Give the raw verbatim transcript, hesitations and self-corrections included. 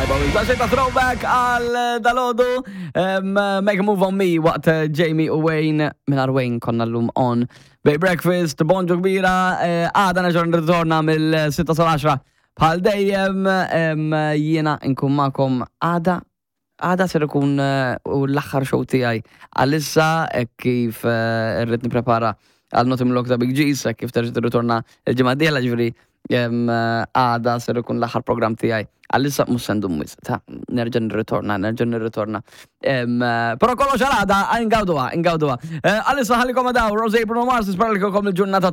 Tajba, ta' ta' throwback għal dalgħodu. Make a Move on Me waqt Jamie u Wayne. Mingħajr Wayne konna llum on Bay Breakfast, bonġu kbira, eh, għada nerġa' nirritorna mill-sitta sal-għaxra. Bħal dejjem em, jiena nkun magħkom għada. Għada ser ikun eh, u l-aħħar show tiegħi. Għalissa hekk kif eh, irrid nipprepara għal Notim Lok ta' Big G's, hekk kif terġa' tirritorna il-ġimgħa d-dieħla, ġifieri em, eh, għada ser ikun l-aħħar program tiegħi. Għalissa mhux se ndum wisq, ta' nerġa' nirritorna, nerġa' nirritorna. Em, eh, Però kollox għal għada, ingawduha, ingawduha. Eh, Għalissa nħallikom daw, Rose, Bruno Mars, nispera li kellkom il-ġurnata.